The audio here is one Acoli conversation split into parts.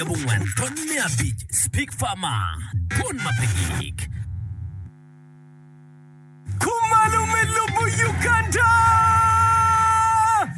Abongwen tony me abic Speak Farmer, Dwon ma pe gik. Kumalo me lobo Uganda!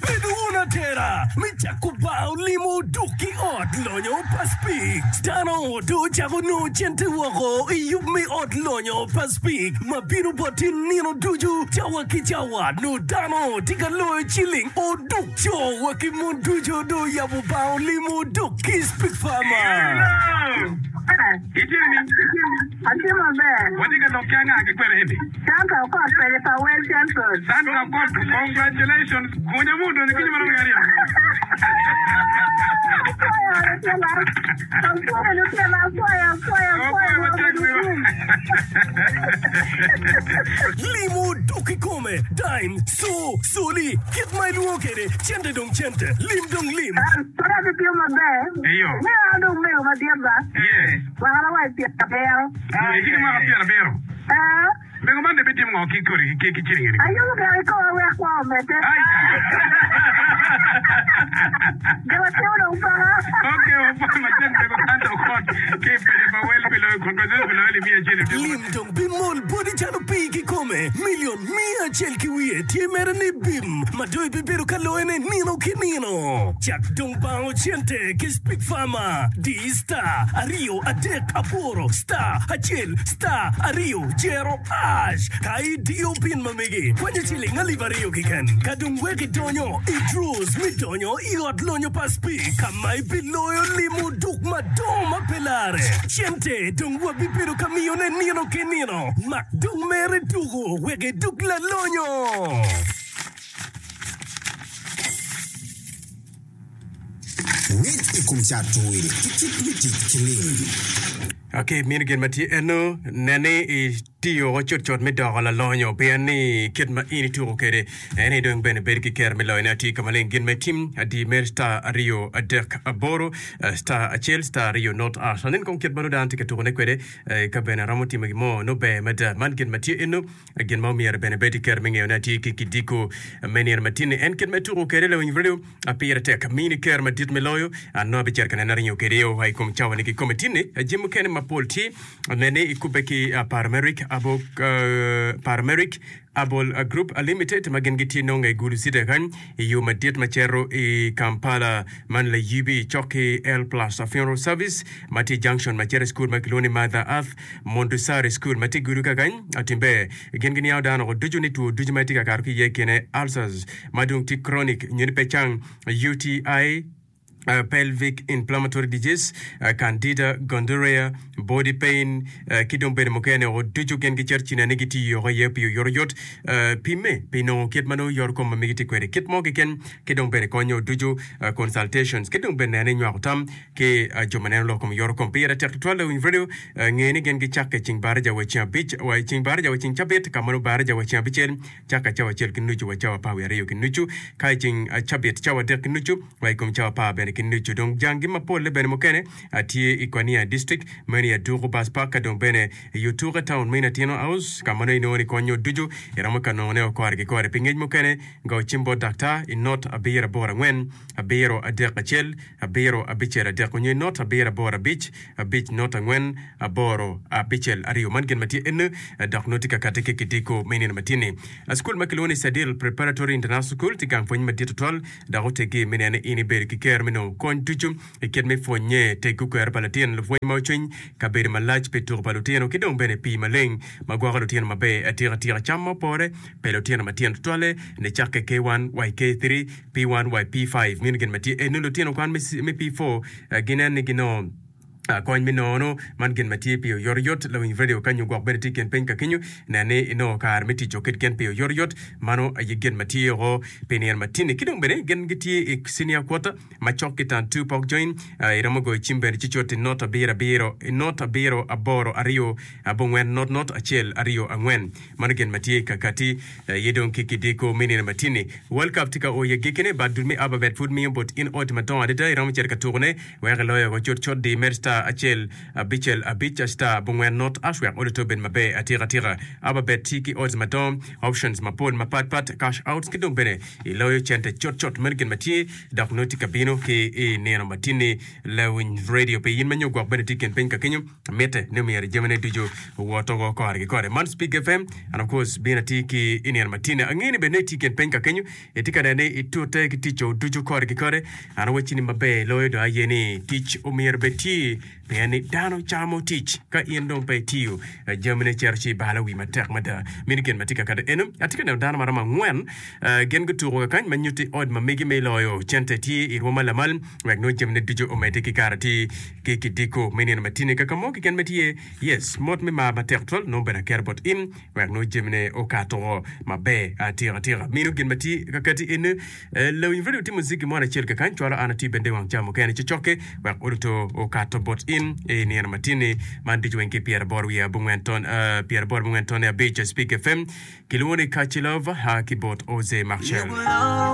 Bed wun atera me cako bar olimo duk ki ot lonyo pa Spik. Dano dong ocako nongo cente woko i yub me ot lonyo pa Spik ma bino bot in nino ducu cawa ki cawa. Nongo dano tye ka loyo ciling oduk. Co wa ki mon ducu dong oyabo bar olimo dok ki Speak Farmer. Atye maber. Watye ka lok ki anga ki kwene eni? Sandra Okot kwede pa Well Central. Sandra Okot, congratulations. Gunya mu odonyo kinyo marom ki aryo. Apwoyo lutela. Apwoyo lutela, apwoyo, apwoyo, apwoyo. Apwoyo matek wiwa. Limo dok kikome, dime, co, coli, kit ma ilwongo kwede, cente dong cente, lim dong lim. Pud atitiyo maber. Eyo. Meno an dong mego madit ba. Yes. Mwakana wa i pyerabiro. Itye ki mwaka pyerabiro. Ee. Mego man dong ibitimo ngo ki kodi ki ciling eni? Ayubo gire ki koma wek kwo omedde. Jo matino dong paka. Ok, wapwoyo matek mego Sandra Okot ki i paco pa Wel pi loyo congratulations pi loyo alip miya acel i odiko. Lim dong bimol boti calo pii kikome. Milion miya acel ki wiye tye mere ni bim ma dong ibibedo ka loyone nino ki nino. Cak dong bango cente ki Speak Farmer. Di star aryo adek aboro star acel star aryo jero ash ka idiyo pin ma megi kwanyo ciling alip aryo keken. Ka dong wek idonyo i draws me donyo i ot lonyo pa Speak ka ma ibiloyo limo duk madongo ma pe lare. Cente dong wabibedo ka miyone nino ki nino. Mak dong mere tuku wek iduk lalonyo. Ngec i kom cato wil ki kit me tic ki lim. Ki mini gin ma tye eno, nen ni itiyo woko cutcut me doko lalonyo, pien ni kit ma in ituko kwede en aye dong bene bedo ki kero me loyone. Atye ka maleng gin ma itim, adi mere star aryo adek aboro star acel star aryo not ash. Anen kong kit ma nongo dano tye ka tukone kwede, ka bene aromo timo gin mo nongo ber mada. Man gin ma tye eno. Gin ma omyero bene bed ki kero me ngeyone atir ki kidiko me nino matin-ni en kit ma ituko kwede lawiny redio. Pire tek mini kero madit me loyo. An nongo abicito ka nene aringo kwede o i kom cawa-ni kikome tin-ni. Jami mukene mapol tye nene ikubbe ki Parameric Parameric Herbal Group Limited ma gin gitye nonge i Gulu City kany i yo madit ma cito i Kampala man layibi cok ki L Plus Funeral Service ma tye i junction ma cito i cukul ma kilwongo ni Mother Earth Montessori School ma tye i gudo kakany Atimber. Gin giniango dano woko ducu ni two ducu ma itye ka kato ki iye i kine ulcers ma dong tye chronic nyo ni pe cang, UTI, pelvic inflammatory disease, candida, gonorrhea, body pain, ki dong bedo mukene woko ducu gin gicito ci nene gitiyo woko iye pi oyotoyot. Pimme pi nongo kit ma nongo yoto kom ma megi tye kwede kit mo keken ki dong bene konyo ducu consultations ki dong bene nene nywako tam ki jo ma neno lok kom yoto kom. Pire tek tutwal lawiny redio nge ni gin gicakke i ceng baraja wa i ceng abic wa i ceng baraja wa i ceng cabit ka ma nongo baraja wa i ceng abicel cakke cawa acel ki nucu wa cawa apar wiye aryo ki nucu ka i ceng cabit cawa adek ki nucu wa i kom cawa apar bene ki nucu. Dong janggi mapolle bene mukene tye i Kwania District meno i Aduku Bus Park ka dong bene i Otuka Town meno i Atino House ka ma nongo inongo ni konyo ducu iromo ka nongone o kore ki kore. Pi ngec mukene go cim bot daktar i not abiro aboro angwen abiro adek acel abiro abicel adek onyo i not abiro aboro abic abic not angwen aboro abicel aryo. Man gin ma tye eno dok nongo tye ka kati ki kidiko me nino matin-ni. Cukul ma kilwongo ni Sadil Preparatory International School tye gang pwony madit tutwal dok oteggi me neno ni in ibedo ki kero me nongo kony ducu i kit me pwonye, teggo kwero pa latin, lupwony ma ocwiny, kabedo malac pi tuko pa lutino ki dong bene pii maleng ma gwoko lutino maber atika tika, cam ma opore pi lutino matino tutwalle nicakke K1 wa i K3. P1 wa i P5 meno gin ma tye eno lutino kwan me P4 ginen ni ginongo kony me nono man gin ma tye pi oyotoyot lawiny radio ka nyo gwok bene tye i kin piny ka kenyo nen ni inongo kare me tic kit gin pi oyotoyot mano aye gin ma tye oko pi nino ma tini ki dong bene gin gitye i senior quarter ma cok ki tan two pok join iromo goyo cim bene ci cut i not abiro abiro not abiro aboro aryo abongwen not not acel aryo angwen Mano gin ma tye ka kati aye dong ki kidiko me nino matin-ni. World Cup tye ka o i agikkine, but dul me Ababet pud miyo bot in ot madongo adada iromo cito ka tukone wek iloyo woko cutcut. Di med star. star acel abicel abic star abongwen not ash wek oluto obed maber atika tika. Ababet tye ki odds madongo, options mapol mapat pat, cash outs ki dong bene iloyo cente cut cut. Meno gin ma tye dok nongo tye ka bino ki i nino matinni. Lawiny radio pi in ma nyo gwok bene tye i kin piny ka kenyo, mitte ni myero jamine ducu owoto woko kore ki kore. Man Speak FM and of course bino atir ki i nino matinni. Angeyo ni bene nongo itye i kin piny ka kenyo, itye ka neno ni itute ki ticco ducu kore ki kore. An awacci ni maber loyo dong aye ni tic omyero bed tye pien ni dano camo tic. Ka in dong pe itiyo, jamine cito ci ibalo wi matek mada. Meno gin ma tye ka kati eno. Atye ka neno dano ma romo angwen, gin gutuko kakany ma nyutti ot ma megi me loyo cente tye i rwom ma lamal wek nongo jamine ducu omedde ki kare atir ki kidiko me nino matini. Kaka mo keken ma tye, yes, mot me mar matek twal nongo bene aketo bot in wek nongo jamine okato maber atika tika. Meno gin ma tye ka kati eno. Lawiny radio timo muziki mo acel kakany cwalo an atye bene i wang ca mukene ci cokke wek oduto okato bot in i nino matini man ducu weng ki 85.5 Speak FM kilwongo ni Kaci Love ki bot Oze Maxwell.